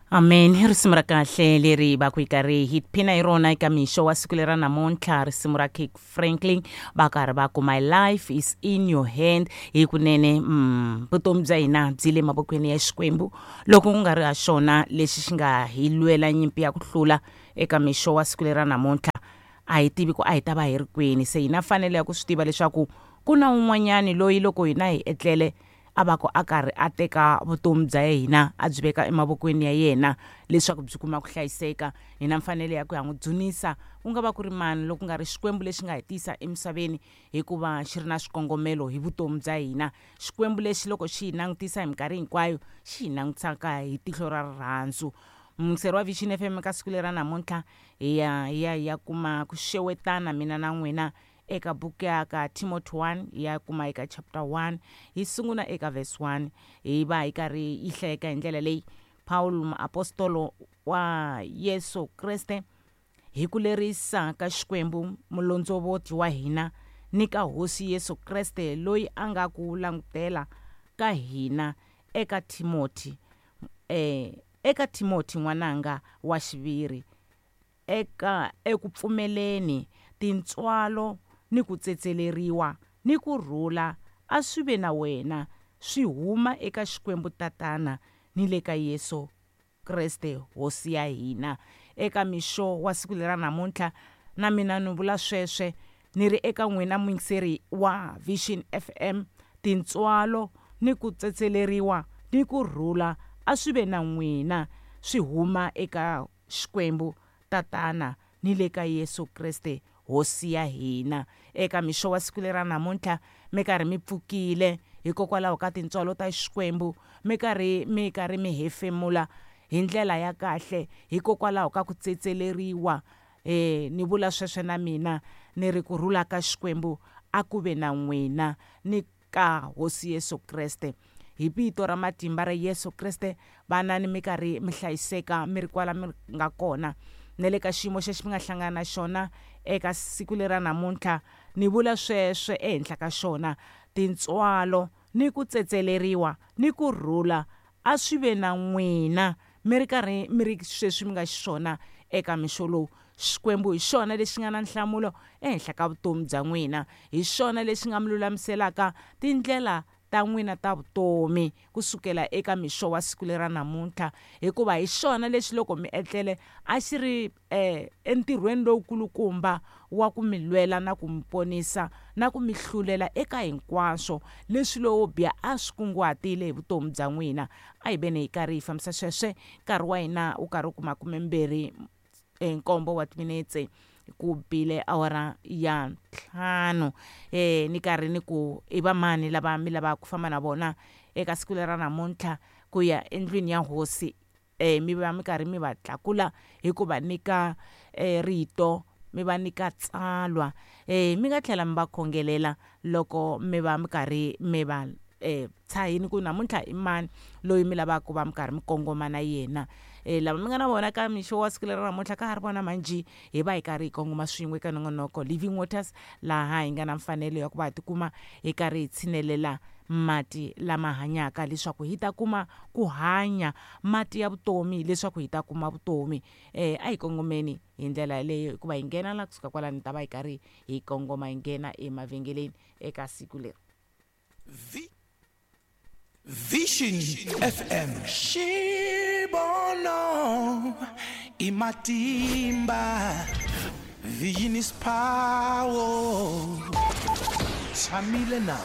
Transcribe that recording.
Amen. I risimu ra kahle leri va ku yi karhi hi tiphina hi rona eka mixo wa siku lera namuntlha, risimu ra Kirk Franklin va karhi va ku my life is in your hand. Hi kunene vutomi bya hina byi le mavokweni ya Xikwembu, loko ku nga ri ha xona lexi xi nga hi lwela nyimpi ya ku hlula eka mixo wa siku lera namuntlha, a hi tivi ku a hi ta va hi ri kwini. Se hi na mfanelo ya ku swi tiva leswaku ku na un'wanyani loyi loko hina hi etlele a va ku a karhi a teka vutomi bya hina a byi veka emavokweni ya yena leswaku byi kuma ku hlayiseka. Hi na mfanelo ya ku ya n'wi dzunisa, ku nga va ku ri mani loko ku nga ri Xikwembu lexi nga hi tisa emisaveni, hikuva xi ri na swikongomelo hi vutomi bya hina. Xikwembu lexi loko xi hi langutisa hi minkarhi hinkwayo xi hi langutisaka hi tihlo ra rirhandzu. Muyingiseri wa Vision FM, ka siku lera namuntlha hi ya hi ya hi ya kuma ku xewetana mina na n'wina eka buku ya ka Timothy 1, hi ya kuma eka chapter 1, hi sungula eka verse 1, hi va hi karhi yi hlayeka hi ndlela leyi: Pawulo muapostolo wa Yesu Kreste hi ku lerisa ka Xikwembu mulondzovoti wa hina ni ka Hosi Yesu Kreste loyi a nga ku langutela ka hina, eka Timothy, eka Timothy n'wananga wa xiviri eka eku pfumeleni, tintswalo ni ku tsetseleriwa ni ku rhula a swi ve na wena, swi huma eka Xikwembu Tatana ni le ka Yesu Kreste Hosi ya hina. Eka mixo wa siku lera namuntlha, na mina ni vula sweswe ni ri eka n'wina muyingiseri wa Vision FM, tintswalo ni ku tsetseleriwa ni ku rhula a swi ve na n'wina, swi huma eka Xikwembu Tatana ni le ka Yesu Kreste Hosi ya hina. Eka mixo wa siku lera namuntlha, mi karhi mi pfukile hikokwalaho ka tintswalo ta Xikwembu, mi karhi mi karhi mi hefemula hi ndlela ya kahle hikokwalaho ka ku tsetseleriwa. Ni vula sweswo na mina ni ri ku rhula ka Xikwembu a ku ve na n'wina ni ka Hosi Yesu Kreste. Hi vito ra matimba ra Yesu Kreste, vanani mi karhi mi hlayiseka mi ri kwala mi nga kona, na le ka xiyimo xexi mi nga hlangana na xona eka siku lera namuntlha. Ni vula sweswe ehenhla ka xona, tintswalo ni ku tsetseleriwa ni ku rhula a swi ve na n'wina mi ri karhi mi ri sweswi mi nga xiswona eka mixo lowu. Xikwembu hi xona lexi nga na nhlamulo ehenhla ka vutomi bya n'wina. Hi xona lexi nga mi lulamiselaka tindlela ta n'wina ta vutomi ku sukela eka mixo wa siku lera namuntlha, hikuva hi xona lexi loko mi etlele a xi ri entirhweni lowukulukumba wa ku mi lwela na ku mi ponisa na ku mi hlulela eka hinkwaswo leswi lowo biha a swi kunguhatile hi vutomi bya n'wina. A hi veni hi karhi hi fambisa sweswe, nkarhi wa hina wu karhi wu kuma kumembirhi nkombo wa timinetse ku bile awara ya ntlhanu. Ni karhi ni ku i va mani lava mi lavaka ku famba na vona eka siku lera namuntlha ku ya endlwini ya Hosi, mi va mi karhi mi va tlakula hi ku va nyika rito, mi va nyika tsalwa, mi nga tlhela mi va khongelela loko mi va mi karhi mi va tshahini ku namuntlha i mani loyi mi lavaka ku va mi karhi mi kongoma na yena. Lava mi nga na vona ka mixo wa siku leri namuntlha ka ha ri vona manjhe, hi va hi karhi hi kongoma swin'we eka nongonoko Living Waters, laha hi nga na mfanelo ya ku va hi tikuma hi karhi hi tshinelela mati lama hanyaka leswaku hi ta kuma ku hanya, mati ya vutomi leswaku hi ta kuma vutomi. A hi kongomeni hi ndlela yaleyo, hikuva hi nghena la kusuka kwalano hi ta va hi karhi hi kongoma hi nghena emavhengeleni eka siku leri. Vision FM Xivono i matimba, Vision is power. Tshamile na.